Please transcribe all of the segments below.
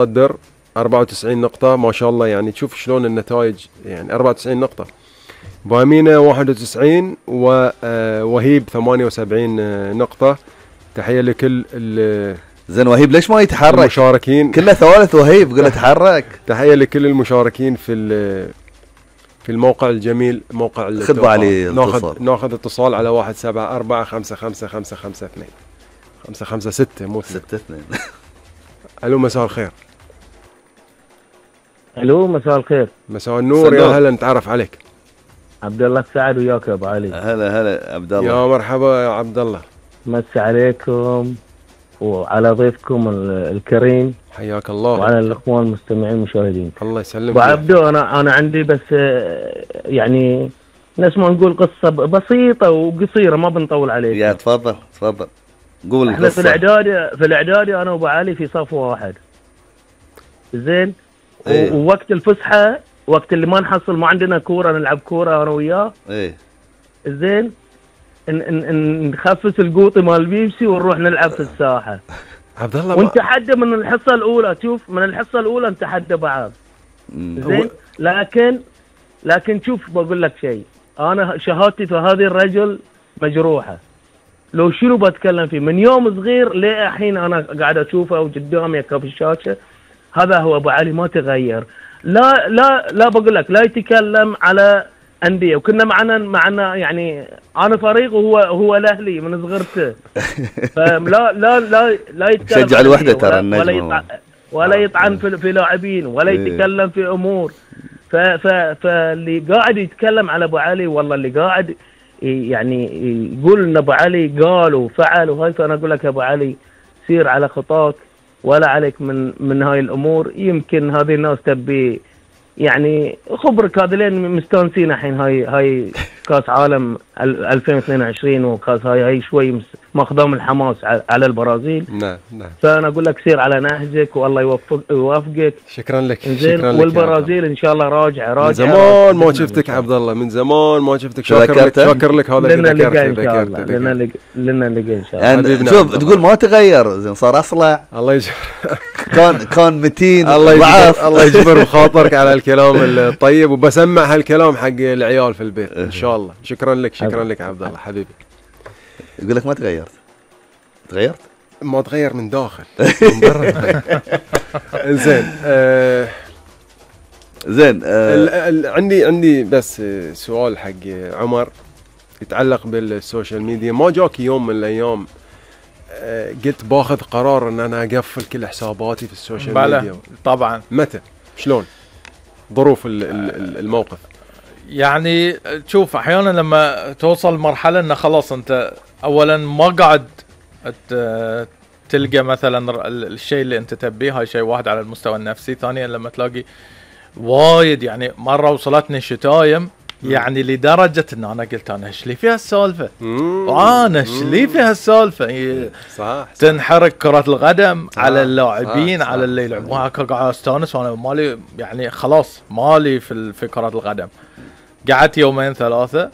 متصدر 94 نقطة ما شاء الله، يعني تشوف شلون النتائج، يعني 94 نقطة. بامينة 91 ووهيب 78 نقطة. تحية لكل زين وهيب ليش ما يتحرك؟ المشاركين كله ثوالث وهيب، قول له تحرك. تحية لكل المشاركين في الموقع الجميل، موقع خذ علي ناخذ اتصال على 174-555552 556 مو 62. الو مساء الخير. الو مساء الخير. مساء النور، يا هلا نتعرف عليك. عبد الله السعد وياك يا ابو علي. هلا عبد الله. يا مرحبا يا عبد الله. مسي عليكم وعلى ضيفكم الكريم. حياك الله. وعلى الاخوان المستمعين المشاهدين. الله يسلمك. ابو عبدو انا عندي بس يعني نسمع نقول قصه بسيطه وقصيره، ما بنطول عليك. يا تفضل قول. احنا في الاعدادي انا وابو علي في صف واحد. زين. ايه. ووقت الفسحه، وقت اللي ما نحصل ما عندنا كوره نلعب كوره انا وياه. ايه. زين. نخفس القوطي مال بيبسي ونروح نلعب في الساحه. عبد الله ونتحدى من الحصه الاولى، شوف من الحصه الاولى نتحدى بعض. زين. لكن شوف بقول لك شيء، انا شهادتي في هذا الرجل مجروحه. لو شنو بتكلم فيه من يوم صغير للحين انا قاعد اشوفه قدامي في الشاشه. هذا هو ابو علي، ما تغير. لا بقول لك لا يتكلم على انديه، وكنا معنا يعني انا فريق وهو الاهلي من صغرته. فلا لا لا لا يتكلم شجع الوحده ترى النجم، ولا يطعن في لاعبين ولا يتكلم في امور. فاللي قاعد يتكلم على ابو علي، والله اللي قاعد يعني يقول ان ابو علي قال وفعل وهاي، فانا اقول لك يا ابو علي سير على خطاك ولا عليك من هاي الامور. يمكن هذه الناس تبي يعني خبرك، هذولين مستانسين الحين هاي كاس عالم 2022 وكاس هاي شوي ماخذهم الحماس على البرازيل. نعم. فانا اقول لك سير على نهجك والله يوفقك. شكرا لك. زين. والبرازيل ان شاء الله راجعه. من زمان ما شفتك عبد الله، من زمان ما شفتك. شاكر لك هذا اللي ذكرته. لنا لقى ان شاء الله. يعني شوف تقول ما تغير، زين صار اصلع. الله يجبر. كان متين. الله يجبر بخاطرك على الكلام الطيب، وبسمع هالكلام حق العيال في البيت ان شاء الله. شكرا لك عبد الله حبيبي. يقول لك ما تغيرت. ما تغير من داخل من برا. زين. زين. عندي بس سؤال حق عمر يتعلق بالسوشيال ميديا. ما جاك يوم من الايام قلت باخذ قرار ان انا اقفل كل حساباتي في السوشيال ميديا؟ طبعا. متى؟ شلون ظروف الموقف؟ يعني شوف احيانا لما توصل مرحله ان خلاص انت اولا ما قاعد تلقى مثلا الشيء اللي انت تبيه، هاي شيء واحد على المستوى النفسي. ثانيا لما تلاقي وايد، يعني مره وصلتني شتايم يعني لدرجه ان انا قلت انا ايش لي فيها السالفه، وانا ايش لي فيها السالفه. صح. تنحرق كره القدم على اللاعبين، على اللي يلعبوها. قاعد استانس وانا مالي يعني خلاص مالي في كره القدم. قعدت يومين ثلاثه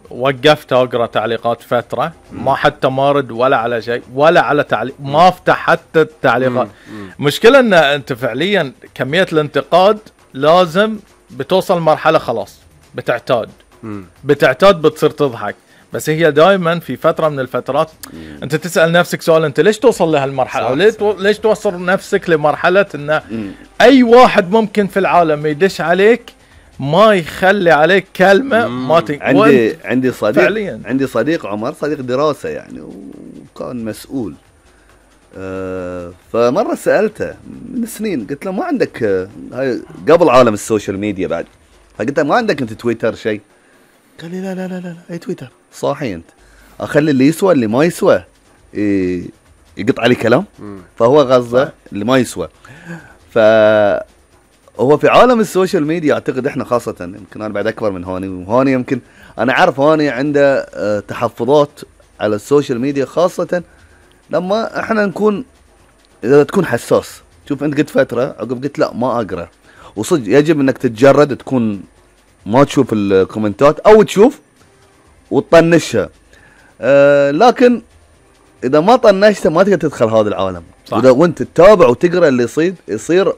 وقفت اقرا تعليقات فتره، ما حتى مارد ولا على شيء ولا على تعليق، ما افتح حتى التعليقات. مشكلة ان انت فعليا كمية الانتقاد لازم بتوصل مرحلة خلاص بتعتاد بتصير تضحك. بس هي دائما في فترة من الفترات انت تسأل نفسك سؤال، انت ليش توصل لهالمرحلة؟ ليش توصل نفسك لمرحلة ان اي واحد ممكن في العالم يدش عليك ما يخلي عليك كلمة ما عندي صديق عمر، صديق دراسة يعني، وكان مسؤول. فمرة سألته من سنين، قلت له ما عندك هاي قبل عالم السوشيال ميديا بعد، فقلت له ما عندك انت تويتر شيء؟ قال لي لا اي تويتر صاحي انت، اخلي اللي يسوى اللي ما يسوى يقط علي كلام. فهو غزة اللي ما يسوى. هو في عالم السوشيال ميديا اعتقد احنا خاصة، يمكن انا بعد اكبر من هاني، وهاني يمكن انا عارف هاني عنده تحفظات على السوشيال ميديا، خاصة لما احنا نكون اذا تكون حساس. شوف انت قلت فترة عقب قلت لا ما اقرا، وصدق يجب انك تتجرد، تكون ما تشوف الكومنتات او تشوف وتطنشها. لكن اذا ما طنشتها ما تقدر تدخل هذا العالم. صح. وانت تتابع وتقرا اللي يصير